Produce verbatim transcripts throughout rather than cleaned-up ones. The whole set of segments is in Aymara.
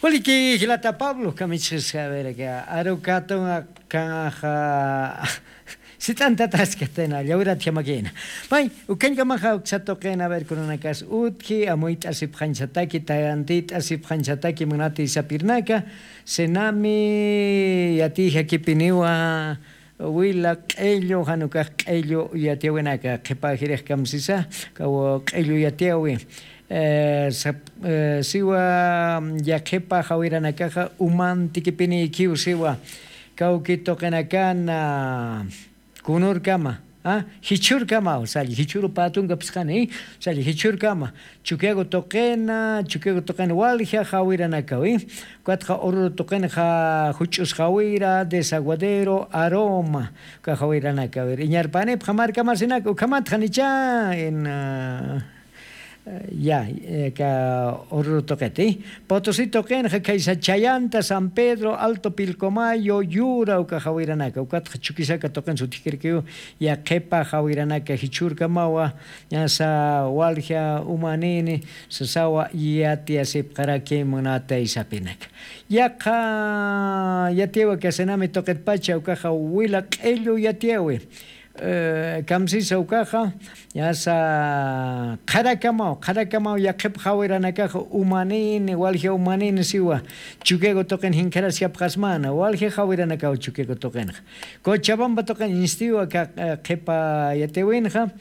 Waliki jilata pablo kamichis javeraka arukatun, kaxa sit'antataskatayna llawirata jamakina. Pay ukañkamaxa uksatuqina aver kurunakas utji amuyt'asipxañsataki tayantit'asipxañsataki munati sapirnaka. Senami yatijakipiniwa wila q'ellu janukax q'ellu yatiawinaka qhipajirix kamsisa kaw q'ellu yatiawi. Siwa yaqhipa jawiranakaxa umantikipiniykiw siwa kawki tuqinakana kunurkama jichhurkamaw salli jichhuru patunka phisqani salli jichhurkama. Chukiagu tuqina chukiagu tuqina walja jawiranakawi. Ukatxa ururu tuqinxa juch'us jawira desaguadero aroma uka jawiranakawir iñarpanipxa markamasinaka ukhamatxa nicha. Ya ka ururu tuqiti potosi tuqinxa khaysa chayanta san pedro alto pilcomayo yura uka jawiranaka ukatxa chukisaka tuqin sutikirkiw. Yaqhipa jawiranaka jichhurkamawa ñasa walja umanini sasawa yatiyasipxaraki munatay sapinaka. Yaqha yatiwa kasinami tuqitpacha ukaxa wila q'ellu yatiyawi. Kamsisa ukaxa ñasa qharakamaw qharakamaw yaqhip jawiranakaxa umanini walja umanini siwa chukiagu tuqin jinkharasiapxasmana walja jawiranakaw chukiagu tuqinxa. Cochabamba tuqin instiwa ka qhipa yatiwinxa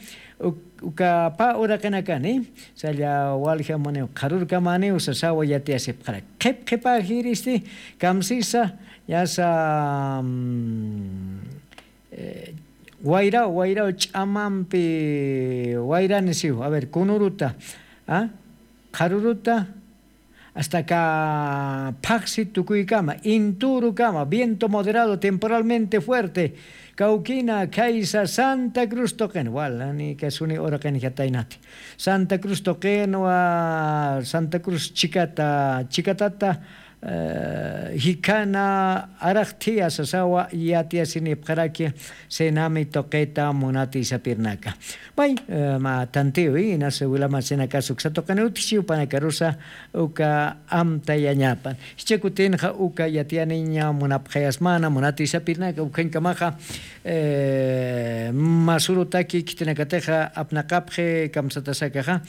uka pä uraqinakani salla walja maniw qharurkamaniw sasawa yatiyasipxaraki qhip qhipajiristi. Kamsisa ñasa wayraw wayraw ch'amampi wayrani siw a ver kunuruta qharuruta asta ka phaqsi tukuykama inturukama viento moderado temporalmente fuerte. Kawkina khaysa santa cruz tuqin walani kasuni uraqinjataynati santa cruz tuqinwa santa cruz chikata chikatata jikhana araqthiya sasawa yatiyasinipxaraki. Senami tuqita munati sapirnaka. May ma tantiwi inas wilamasinakasa uksa tuqini utjichiw panakarusa uka amtayañapan. Jichha kutinxa uka yatiyaniña munapxayasmana munati sapirnaka ukhañkamaxa masurutaki khitinakatixa apnaqapxi kamsatasakaxa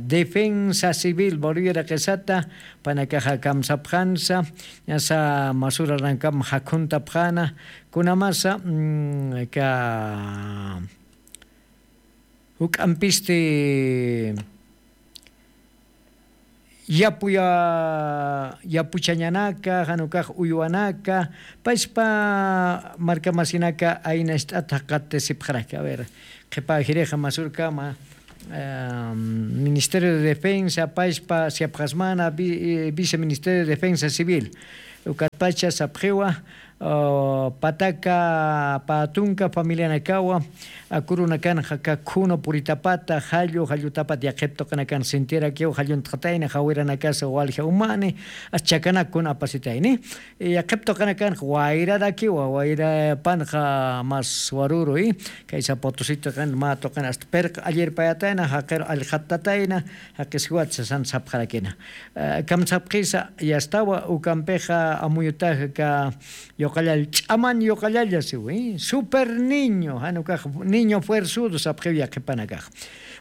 defensa civil bolivia raqisata panakaxa kamsapxansa. Ñasa masurarankam jakhuntapxana kunamasa ka juk'ampisti yapuya yapuchañanaka janukax uywanaka paspa markamasinaka aynacht'at jaqatisipxaraki a ver qhipajirixa masurkama ministerio de defensa paspa siapxasmana viceministerio de defensa civil ukatpacha sapxiwa pataka pä tunka familianakawa akurunakanxa kakhunu puritapata jallu jallutapat yaqhip tuqinakan sintirakiw jalluntxatayna jawiranakasa walja umani. Aschakanak kuna apasitayni yaqhip tuqinakanxa wayrarakiwa wayrapanxa mas waruru i kaysa potosi tuqin mä tuqin asta pirq allirpayatayna jaqiru allqhattatayna jaqisiwat sasan sapxarakina. Kamsapxisa yastawa ukampixa amuyutaxa ka yuqallall ch'aman yuqallalla siwi super niño jan ukax niño fuerzudo sapxiw yaqhipanakax.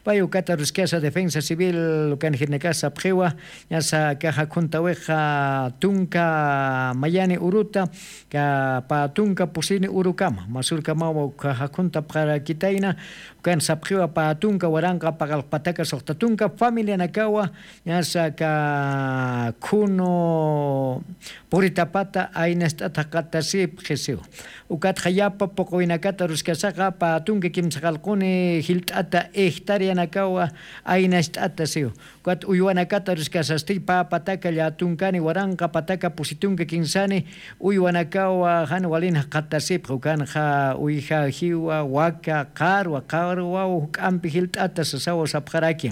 Pay ukata ruskasa defensa civil ukanjirnakax sapxiwa ñasa kaxa khuntawixa tunka mayani uruta ka pä tunka pusini urukama masurkamawa ukhaxa khuntapxarakitayna. Ukan sapxiwa pä tunka waranqa paqalqpataka suxta tunka familianakawa ñasa ka khunu puritapata aynacht'at jaqatasipxi siwa. Ukatxa yapa puqwinakata ruskasaxa pä tunka kimsaqalquni jilt'ata hectareanakawa aynacht'ata siwa. Ukat uywanakata ruskasasti pä pataka llätunkani waranqa pataka pusi tunka kinsani uywanakawa jan walin jaqatasipxi ukanxa uyjajiwa waka qarwa qarwaw juk'ampi jilt'ata sasawa sapxaraki.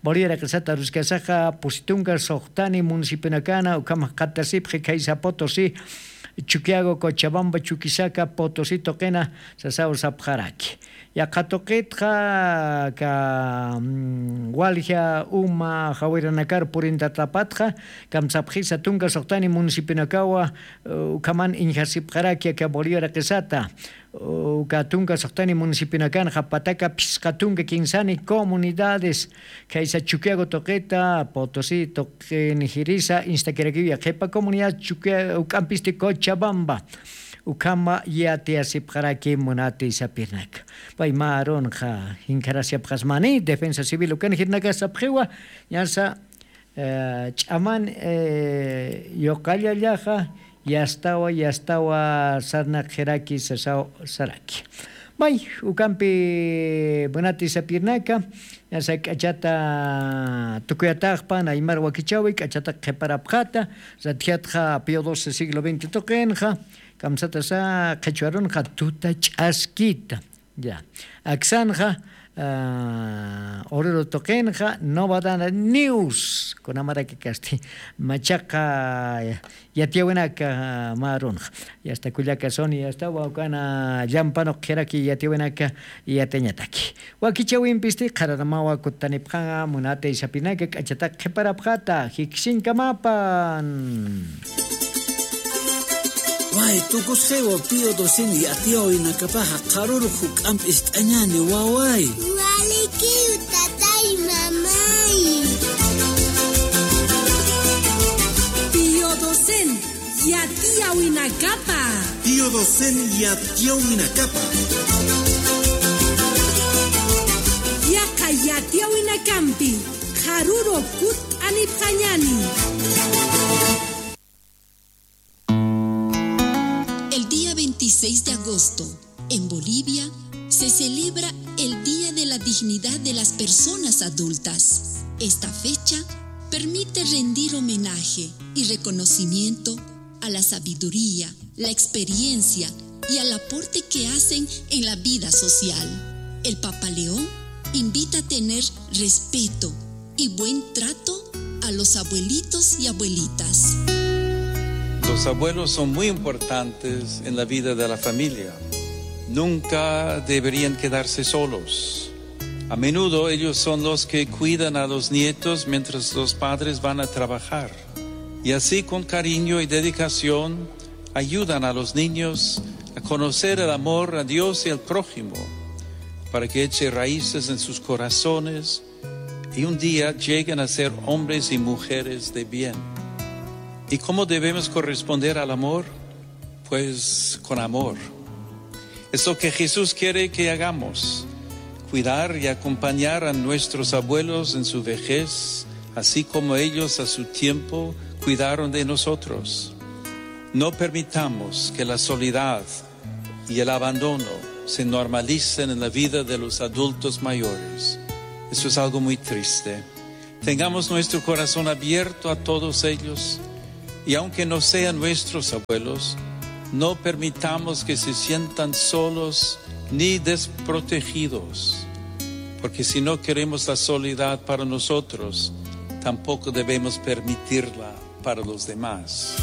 Bolivia raqisata ruskasaxa pusi tunka suxtani municipionakana ukham jaqatasipxi khaysa potosi chukiago cochabamba chukisaka potosi tuqina sasaw sapxaraki. Yaqha tuqitxa, ka, mm, walja uma jawiranakar purintatapatxa, kamsapxisa tunka suxtani municipionakawa, eh, ukhaman iñjasipxaraki aka Bolivia raqisata. Uka tunka suxtani municipionakanxa pataka phisqa tunka kinsani comunidades, khaysa Chuquiago tuqita, Potosí tuqin jirisa, instakirakiw yaqhipa comunidad Chuquia-, uk'ampisti Cochabamba. Ukhama yatiyasipxaraki munati sapirnaka. Pay mä arunxa, jinkharasipxasmani, defensa civil ukan jirnaka sapxiwa, ñasa, eh, ch'aman, eh, yuqallallaxa, yastawa, yastawa sarnaqxiraki, sasaw saraki. May, ukampi munati sapirnaka, ñasa k'achata tukuyataxpan, aymar wakichawi, k'achata qhiparapxata, ratjatxa Pío doce siglo veinte tuqinxa, kamsatasa qhichwa arunxa tuta ch'askita. Ya. Aksanxa, ah, Oruro tuqinxa, Novedad News, kunamaraki kasti, machaqa, ya, yatiyawinaka, ah, mä arunxa. Yasta kullaka Sony, yasta wawkana llampanux qhiraki yatiyawinaka, yatiñataki. Wakichawimpisti, qhararamawa kutanipxanxa, munati sapinaka, k'achata qhiparapxata, jikisiñkamapan. Way, tukusxiwa Pío doce yatiyawinakapaxa qharürux juk'amp ist'añäni, waway. Walikiw, tatay, mamay. Pío doce yatiyawinakapa. Pío doce yatiyawinakapa. Yaqha yatiyawinakampi qharürux kutt'anipxañäni. El día veintiséis de agosto, en Bolivia, se celebra el Día de la Dignidad de las Personas Adultas. Esta fecha permite rendir homenaje y reconocimiento a la sabiduría, la experiencia y al aporte que hacen en la vida social. El Papa León invita a tener respeto y buen trato a los abuelitos y abuelitas. Los abuelos son muy importantes en la vida de la familia. Nunca deberían quedarse solos. A menudo ellos son los que cuidan a los nietos mientras los padres van a trabajar. Y así, con cariño y dedicación, ayudan a los niños a conocer el amor a Dios y al prójimo, para que eche raíces en sus corazones y un día lleguen a ser hombres y mujeres de bien. ¿Y cómo debemos corresponder al amor? Pues con amor. Es lo que Jesús quiere que hagamos, cuidar y acompañar a nuestros abuelos en su vejez, así como ellos a su tiempo cuidaron de nosotros. No permitamos que la soledad y el abandono se normalicen en la vida de los adultos mayores. Eso es algo muy triste. Tengamos nuestro corazón abierto a todos ellos, y aunque no sean nuestros abuelos, no permitamos que se sientan solos ni desprotegidos, porque si no queremos la soledad para nosotros, tampoco debemos permitirla para los demás.